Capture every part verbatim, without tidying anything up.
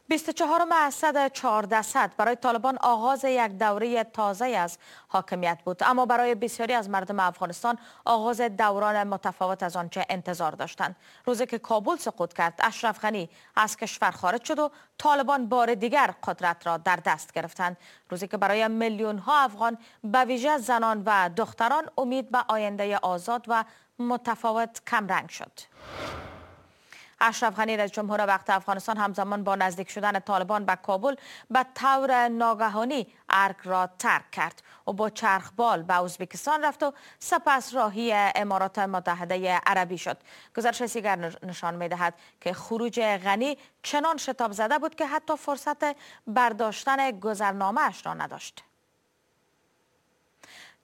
بیست و چهارم اسد چهارده برای طالبان آغاز یک دوره تازه از حاکمیت بود، اما برای بسیاری از مردم افغانستان آغاز دوران متفاوت از آنچه انتظار داشتند. روزی که کابل سقوط کرد، اشرف غنی از کشور خارج شد و طالبان بار دیگر قدرت را در دست گرفتند. روزی که برای میلیون ها افغان، به ویژه زنان و دختران، امید به آینده آزاد و متفاوت کمرنگ شد. اشرف غنی رئیس جمهور وقت افغانستان همزمان با نزدیک شدن طالبان به کابل به طور ناگهانی ارگ را ترک کرد و با چرخبال به ازبکستان رفت و سپس راهی امارات متحده عربی شد. گزارش دیگر نشان می‌دهد که خروج غنی چنان شتاب زده بود که حتی فرصت برداشتن گذرنامه اش را نداشت.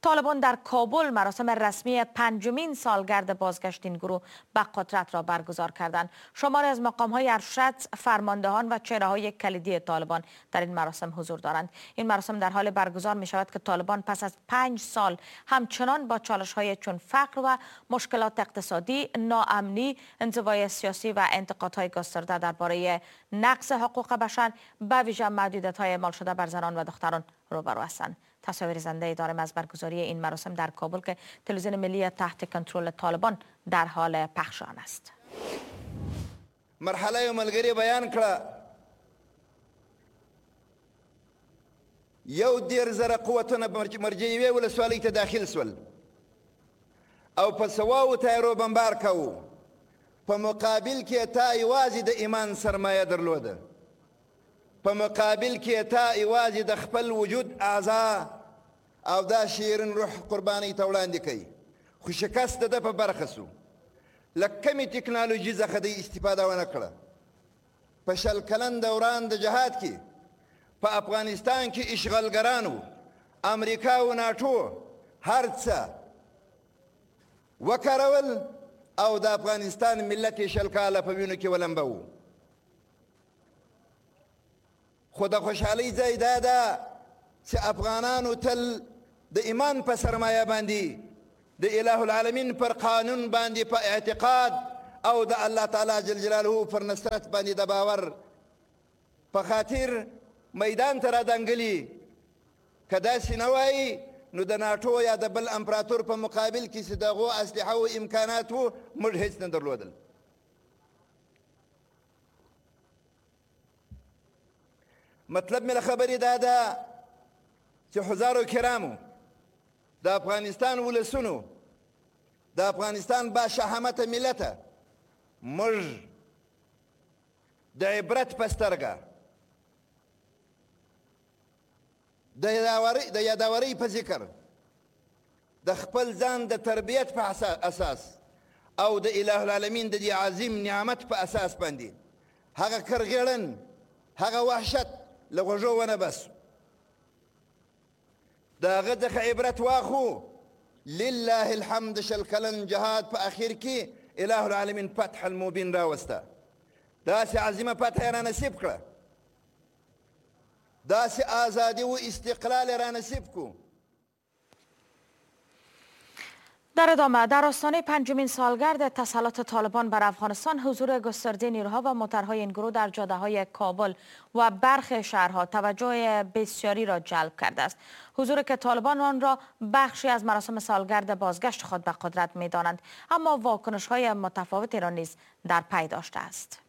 طالبان در کابل مراسم رسمی پنجمین سالگرد بازگشت این گروه به قدرت را برگزار کردند. شماری از مقام‌های ارشد، فرماندهان و چهره‌های کلیدی طالبان در این مراسم حضور دارند. این مراسم در حال برگزار می شود که طالبان پس از پنج سال همچنان با چالش‌های چون فقر و مشکلات اقتصادی، ناامنی، انزوای سیاسی و انتقادهای گسترده درباره نقض حقوق بشر، به ویژه محدودیت‌های اعمال شده بر زنان و دختران روبرو هستند. تصاویر زنده داریم از برگزاری این مراسم در کابل که تلویزیون ملی تحت کنترل طالبان در حال پخش آن است. مرحله یو ملګری بیان کړه، یو دیر زره قوتونه مرجعیوې ولسوالۍ ته داخل سول او په سواو تیارو بمبار کوو. په مقابل کې تا یوازې د ایمان سرمایه درلوده، په مقابل کې تا یوازې د خپل وجود اعضا او دا شیرین روح قربانۍ ته وړاندې کوي، خو شکست د ده په برخه سو. له کمې تکنالوژي څخه دی استفاده ونه کړه. په شل کلن دوران د جهاد کې په افغانستان کې اشغالګرانو، امریکا او ناټو هر څه وکارول او د افغانستان ملت یې شل کاله په وینو کې ولمبوو. خو د خوشحالۍ ځای دا ده چې افغانانو تل د ایمان په سرمایه باندې، د اله العالمین پر قانون باندې په اعتقاد او د الله تعالی جل جلاله پر نصرت باندې د باور په خاطر میدان ته رادانګلي. که داسې نه وای نو د ناټو یا د بل امپراتور په مقابل کې چې د هغو اسلحه و امکانات وو، موږ هیڅ نه درلودل. مطلب مې له خبرې دا ده چې حضارو کرامو، د افغانستان ولسونو، د افغانستان با شهامته ملته، موږ د عبرت په سترګه، د یاداورۍ په ذکر، د خپل ځان د تربیت په اساس او د اله العالمین د دې عظیم نعمت په اساس باندې هغه کرغېړن، هغه وحشت له غوږو ونه باسو، د هغه څخه عبرت واخو. لله الحمد شل کلن جهاد په اخر کې اله العالمین فتح المبین راوسته. داسې عظیمه فتح یې را نصیب کړه، داسې آزادي و استقلال یې را نصیب کو. در ادامه، در آستانه پنجمین سالگرد تسلط طالبان بر افغانستان، حضور گسترده نیروها و موترهای این گروه در جاده‌های کابل و برخی شهرها توجه بسیاری را جلب کرده است. حضور که طالبان آن را بخشی از مراسم سالگرد بازگشت خود به قدرت می‌دانند، اما واکنش‌های متفاوتی را نیز در پی داشته است.